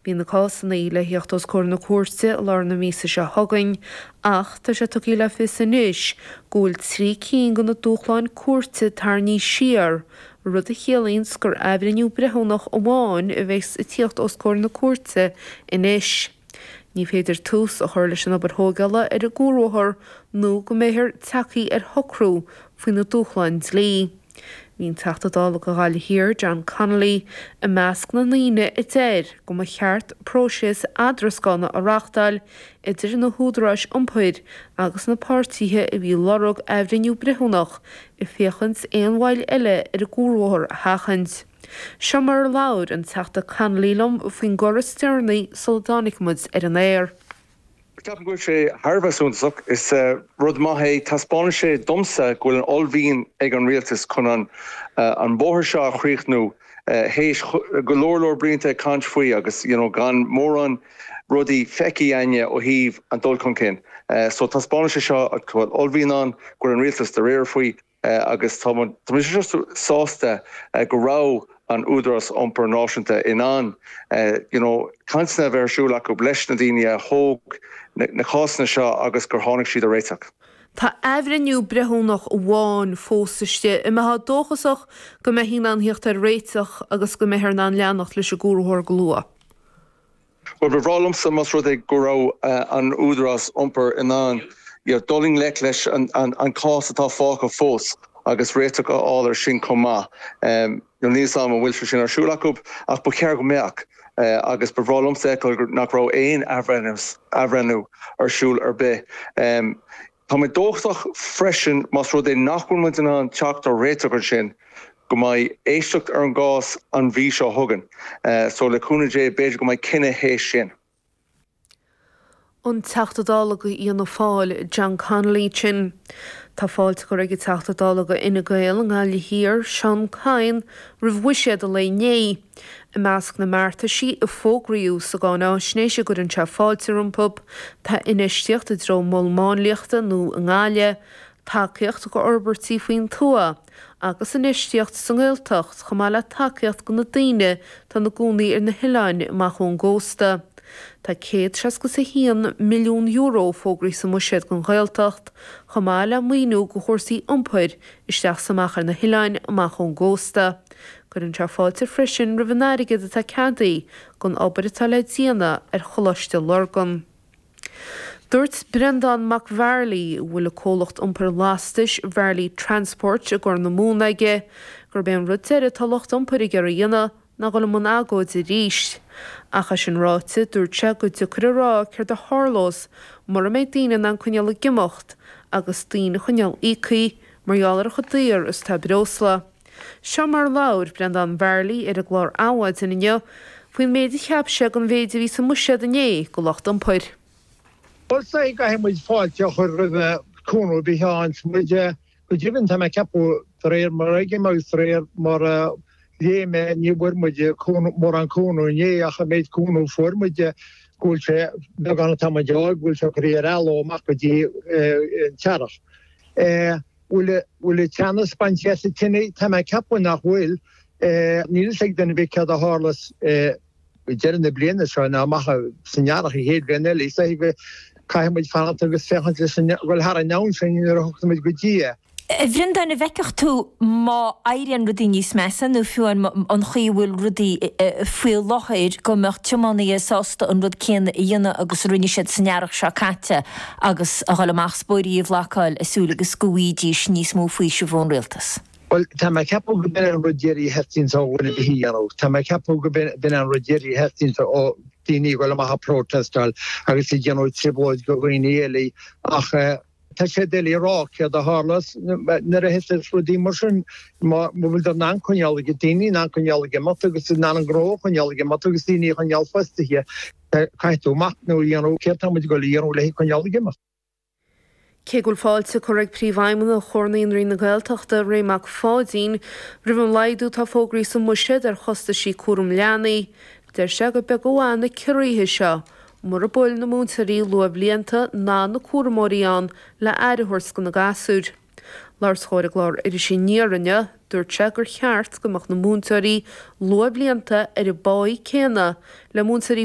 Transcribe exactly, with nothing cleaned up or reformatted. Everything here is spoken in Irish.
Bhí na cásanna le theacht os comhair na cúirte i lár na míosa seo chugainn, ach tá sé tugtha le fios anois go bhfuil trí cinn de na dúshláin cúirte tarraingthe siar, rud a chiallaíonn gur athbhreithniú breithiúnach amháin a bheas ag tíocht os comhair na cúirte anois. Ní féidir tús a chur leis an obair thógála ar an gcuarbhóthar nó go mbeifear tagtha ar shocrú faoi na dúshláin dlí. Bhí an Teachta Dála do Ghaillimh Thiar, John Connolly, i measc na ndaoine a deir go mba cheart próiseas eadrascána a reáchtáil idir na húdaráis iompair agus na páirtithe a bhí ag lorg athbhreithniú breithiúnach ag féachaint aon mhoill eile ar an gcuarbhóthar a sheachaint. Seo mar a labhair an Teachta Connolly liom faoin gcor is deireanaí sula dtáinig muid ar an aer. Ceapaim go bhfuil sé thar a bheith suntasach is uh, rud maith é taispeánann sé domsa go bhfuil an uaillmhian ag an rialtas chun an uh, an bóthar seo a chríochnú uh, théis go leor leor blianta ag caint faoi agus you know, gan mórán rudaí feicthe againne ó thaobh an dul chun cinn. Uh, so taispeánann sé seo go bhfuil uaillmhian ann go an rialtas dáiríre faoi uh, agus tá sásta uh, go raibh an Údarás Iompair Náisiúnta in ann uh, you know, cainteanna a bheith ar siúl acu leis na daoine a thóg na, na cásanna seo agus gur tháinig siad ar réiteach. Tá athbhreithniú breithiúnach amháin fós istigh an mbeifeá dóchasach go mbeifí in ann theacht ar réiteach agus go mbeifear in ann leanacht leis an gcuarbhóthar go luath. Well ba bhreá liomsa más rud é go raibh uh, an Údarás Iompair in ann dul i ngleic leis an, an, an cás atá fágtha fós agus réiteach a fháil air sin chomh maith. Um, níl am an bhfuil sin ar siúl acu ach ba cheart go mbeadh. Uh, agus ba bhreá liomsa nach raibh aon athbhreithniú ar siúl ar bith. Um, Tá mé dóchasach freisin más rud é nach bhfuil muid in ann teacht ar réiteach ar sin go mbeidh éisteacht ar an gcás an mhí seo chugainn. Uh, so le cúnamh Dé b'fhéidir go mbeidh cinneadh théis sin. An Teachta Dála do Fhianna Fáil John Connolly sin. Tá fáilte curtha ag an Teachta Dála do Fhine Gael i nGaillimh Thiar Seán Kyne roimh bhuiséad an lae inné. I measc na mbeartaisí a fógraíodh sa gcáinaisnéis a gcuireann sé fáilte rompu, tá infheistíocht i dtreo mol máinliachta nua i nGaillimh, tacaíocht go fhorbairtí faoin tuath, agus infheistíocht sa nGaeltacht chomh maith le tacaíocht do na daoine atá ina gcónaí ar na hoileáin amach ón gcósta. Tá céad seasca a haon milliún euro fógraithe sa mbuiséad don Ghaeltacht, chomh maith le maoiniú do chúrsaí iompair isteach is amach ar na hoileáin amach ón gcósta. Cuireann sé fáilte freisin roimh an airgead atá ceadaithe don obair atá le déanamh ar Choláiste Lurgan. Dúirt Breandán Mac Bhearlaí bhfuil a comhlacht iompair lastais Varley Transport i gCorr na Móna aige, gurb é an rud deiridh atá lucht iompair ag iarraidh a dhéanamh ná dul i mbun agóide arís. Ach é sin ráite dúirt sé gur deacair a rá céard a tharlós mura mbeidh daoine in ann coinneáil ag imeacht agus daoine a choinneáil íoctha mar gheall ar chomh daor is atá breosla. Seo mar labhair Breandán Varley ar an gclár Adhmhaidin inniu faoin méid a cheap sé den mhéid a bhí sa mbuiséad inné do lucht iompair. Well caithfidh muid fáilte a chur roimh cúnamh beáin muid go deimhin tá mé ag ceapadh de réir mar a fheicim agus de réir mar a léigh mé ní bhfuair muid mórán cúnamh inné ach an méid cúnamh fuair muid go bhfuil sé beagán atá muid á bhfuil sé curtha ar athló amach go dtí an t-earrach. Bhfuil bhfuil teannas bainte as an tine tá mé ag ceapadh nach bhfuil níl ag duine bith céard a tharlós deireadh na bliana seo ná amach san earrach an chéad bhliain eile is go caithfidh muid fanacht agus féachaint leis an bhfuil thar an am sin nuair a thiocfaidh muid go dtí é. A Bhreandáin an bhfeicfeadh tú má éiríonn rudaí níos measa nó fiú an chaoi a bhfuil rudaí faoi láthair go mbeadh tiománaithe sásta an rud céanna a dhéanamh agus a rinne siad san earrach seo caite agus a dhul amach is bóithrí a bhlocáil ag súil agus go bhfaighidís níos mó faoisimh ón rialtas. Well tá mé ag ceapadh go b'in an rud deiridh a theastaíonn ó dhuine a dhéanamh. Tá mé ag ceapadh go b'in an rud deiridh a theastaíonn ó daoine dul amach ag protestáil agus ag déanamh trioblóid do dhaoine eile ach tá sé doiligh a rá céard a tharlós nuair a thiteas rudaí mar sin má bhfuil in ann coinneáil ag daoine in ann coinneáil ag imeacht agus in ann an gnó a choinneáil ag imeacht agus daoine a choinneáil fostaithe caithfidh tú machnamh a dhéanamh céard tá muid ag dul a dhéanamh le coinneáil ag imeacht. Cé go bhfuil fáilte curtha ag Príomhfheidhmeannach Chomhar Naíonraí na Gaeltachta Ray Mac Pháidín roimh an laghdú atá fógraithe sa mbuiséad ar chostaisí cúram leanaí, deir sé gur beag an mhaith na ciorruithe seo, mura bhfuil na múinteoirí luathbhlianta ná na cúramóirí ann le aire a thabhairt do na gasúir. Labhairt dó ar an gclár Iris Aniar inniu, dúirt sé gur cheart go mbeadh na múinteoirí luathbhlianta ar an bpáí céanna le múinteoirí